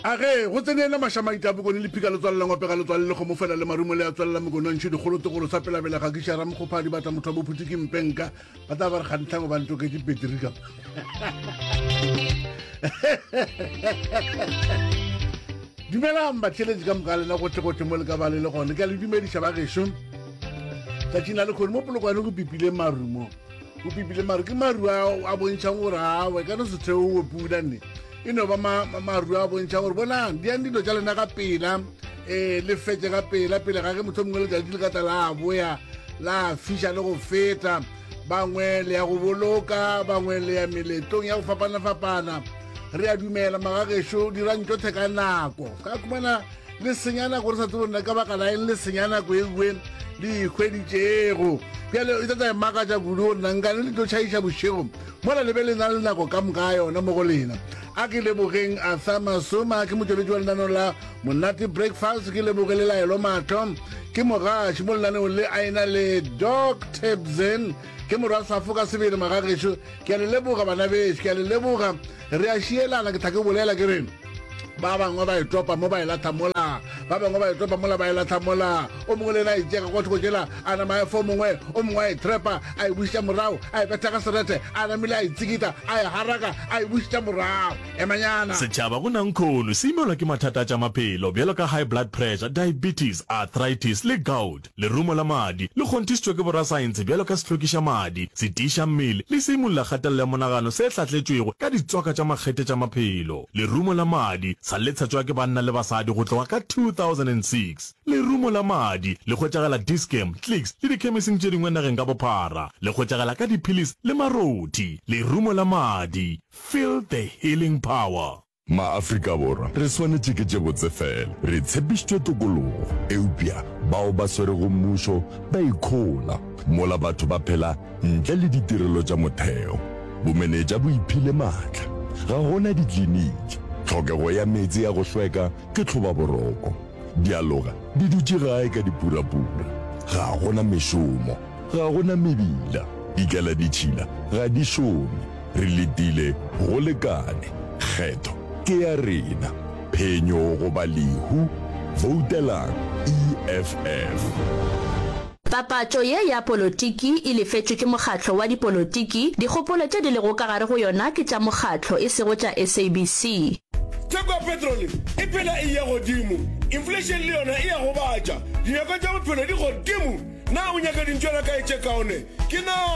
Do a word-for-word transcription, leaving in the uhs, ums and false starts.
A ge go tsene yena Mašamaita a Bokone le Phika Letswalo la Ngope ga Letswalo le Kgomo fela le Marumo le a tswalela Mokone wa Ntšhu dikgolo tegolo sa pelabela ga kiša Ramokgopha dibata motho wa bophuti ke mpenka ba tla ba re kgantlhango ba ntoketše petri ka Dumelang batheeletši ka moka lena gohle-gohle mo le ka ba le le gone ke a le dumediša ba gešo tšatšing la lekgone mo polokwane go pipile marumo go pipile maru ke maru a a bontšhang gore awe ka no se theowe pula nne e no ba maru a bontšha gore bonang diang dilo tša lena ka pela um le fetše ka pela pele ga ge motho mongwe letšatši le ka tla la boya la fiša le go feta bangwe le ya go boloka bangwe le ya meletlong ya go fapana-fapana re a dumela magagešo dirang tšotlhe ka nako ka khumana le senya nako re sa tsebo nna ka baka la eng le senya nako e nngwe le ikhweditšego bjale e tlatla e makatša kudu gore na nkane le tlo tšhaiša bošego mola le be le na le nako ka moka yona mo go lena a ke lebogeng arthur masoma ke motšweletši wa lenaneo la monate breakfast ke leboge le laelo mahlo ke mogaši mo lenaneong le a ena le doc tebzen ke morwa safo ka sebele magagešo ke a le leboga bana bešo ke a le leboga re a šielana ke tla ke bolela ke re ba bangwe ba e topa mo ba e latha mola ba bangwe ba e topa mola ba e latha mola o mongwe le ena a itšega kwa thoko tšela a nama a efa o mongwe o mongwe a e trepa a e bušetša morago a e betha ka serethe a namile a e tsikita a e haraka a e bušetša morago emanyana Setšhaba go nankhono se imelwa ke mathata a tša maphelo bjalo ka high blood pressure, diabetes, arthritis le gout. Lerumo la madi le kgonthišitšwe ke borasaense bjalo ka sehlwekiša madi, setiiša mmele le seimolla kgatelelo ya monagano se hlahletšwego ka ditswaka tša makgethe tša maphelo. Lerumo la madi sa le tshetšwa ke banna le basadi go tloga ka two thousand and six Lerumo la madi le hwetšagala Dis-Chem, Clicks le dikhemising tše dingwe nageng ka bophara. Le hwetšagala ka diphilisi le marothi. Lerumo la madi, feel the healing power. Ma-Afrika Borwa re swanetše ke tše botse fela. Re tshepišitšwe tokologo, eupša bao ba swerego mmušo ba ikhola mola batho ba phela ntle le ditirelo tša motheo. Bomenetša bo iphile maatla. Ga go na dikliniki. Tlhokego ya meetse a go hlweka ke tlhobaboroko. Dialoga di dutše gae ka dipurapura. Ga go na mešomo. Ga go na mebila. Dikeladitšhila ga di šome. Re letile go lekane. Kgetho ke ya rena. Phenyo goba lehu. Voutelang E F F. Papatšo ye ya polotiki e lefetšwe ke mokgatlo wa dipolotiki, dikgopolo tše di lego ka gare go yona ke tša mokgatlo e sego tša S A B C. Theko ya petrole e phela e eya godimo, inflation le yona e a gobatša, dinyakwa tša bophelo di godimo. Na o nyaka dintšwana kae tše kaone? Ke na.